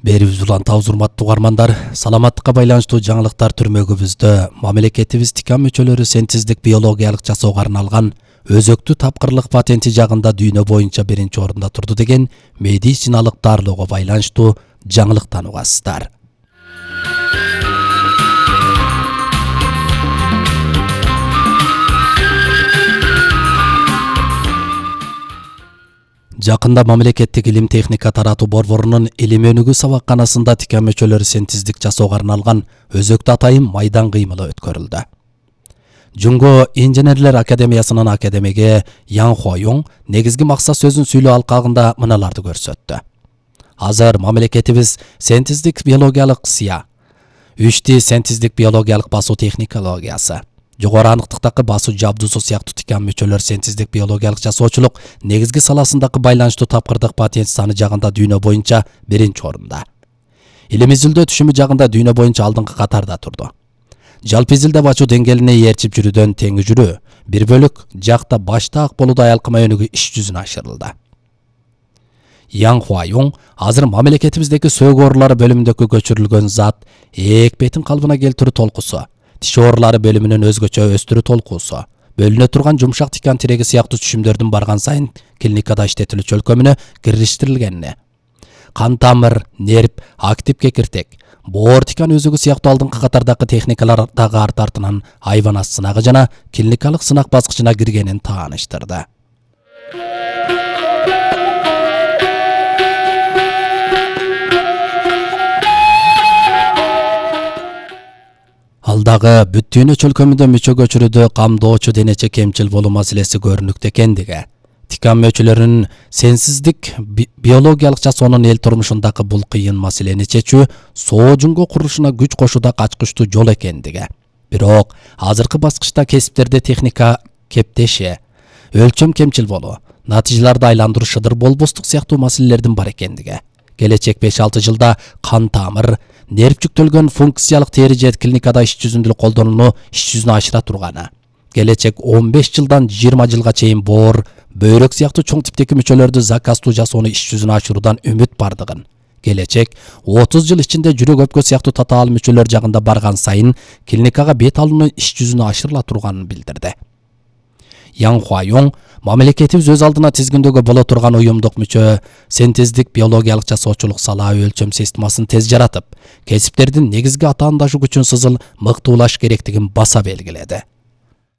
Берибиз улантабыз урматтуу угармандар. Саламаттыкка байланыштуу жаңылыктар түрмөгүбүздө мамлекетибиз тикан мүчөлөрү синтездик биологиялык жасоого арналган өзөктүү тапкырлык патенти жагында дүйнө боюнча биринчи орунда турду деген медициналык дарылоого байланыштуу жаңылыктан угасыздар. Жакында мамлекеттик илим техника таратуу борборунун илим өнүгүү сабакканасында тикан мүчөлөрү синтездик жасоого арналган өзөктүү атайын майдан кыймылы өткөрүлдү. Жунго инженерлер академиясынын академиги Ян Хуайоң негизги максат сөзүн сүйлөө алкагында мыналарды көрсөттү. Азыр мамлекетибиз синтездик биологиялык СИА, 3D синтездик биологиялык басуу технологиясы, жогору аныктыктагы басуу жабдуусу сыяктуу тикан мүчөлөр синтездик биологиялык жасоочулук негизги саласындагы байланыштуу тапкырдык патент саны жагында дүйнө боюнча биринчи орунда. Илим изилдөө түшүмү жагында дүйнө боюнча алдыңкы катарда турду. Жалпы изилдеп ачуу деңгээлине ээрчип жүрүүдөн тең жүрүү, бир бөлүк жакта башта ак болууда аялкама өнүгүү иш жүзүнө ашырылды. Ян Хуайоң азыр мамлекетибиздеги сөөгү оорулары бөлүмүндөгү көчүрүлгөн зат экпетин калыбына келтирүү толкусу, тиш оорулары бөлүмүнүн өзгөчө өстүрүү толкуусу, бөлүнө турган жумшак тикан тиреги сыяктуу түшүмдөрдүн барган сайын клиникада иштетилүү чөлкөмүнө киргиштирилгенине, кан тамыр, нерв, актив кекиртек, боор тикан өзөгү сыяктуу алдыңкы катардагы техникалар дагы арт-артынан айванат сынагы жана клиникалык сынак баскычына киргенин тааныштырды. Алдагы бүт дүйнө чөлкөмүндө мүчө көчүрүүдө камдоочу денече кемчил болуу маселеси көрүнүктүү экендиги, тикан мүчөлөрүнүн синтездик биологиялык жасоонун эл турмушундагы бул кыйын маселени чечүү соо жунго курулушуна күч кошууда ачкычтуу жол экендиги. Бирок азыркы баскычта кесиптерде техника кептеши, өлчөм кемчил болуу, натыйжаларды айландыруу шыдыр болбостук сыяктуу маселелердин бар экендиги. Келечек 5-6 жылда кан тамыр, нерв жүктөлгөн функциялык тери же клиникада иш жүзүндө колдонулуу иш жүзүнө ашыра турганы. Келечек 15 жылдан 20 жылга чейин боор, бөйрөк сыяктуу чоң типтеги мүчөлөрдү заказтуу жасоону иш жүзүнө ашыруудан үмүт бардыгын. Келечек 30 жыл ичинде жүрөк өпкө сыяктуу татаал мүчөлөр жагында барган сайын клиникага бет алуунун иш жүзүнө ашырыла турганын билдирди. Ян Хуайоң мамлекетибиз өз алдына тизгиндөөгө боло турган уюмдук мүчө синтездик биологиялык жасоочулук салаа өлчөм системасын тез жаратып, кесиптердин негизги атаандашы күчүн сызыл мыктуулаш керектигин баса белгиледи.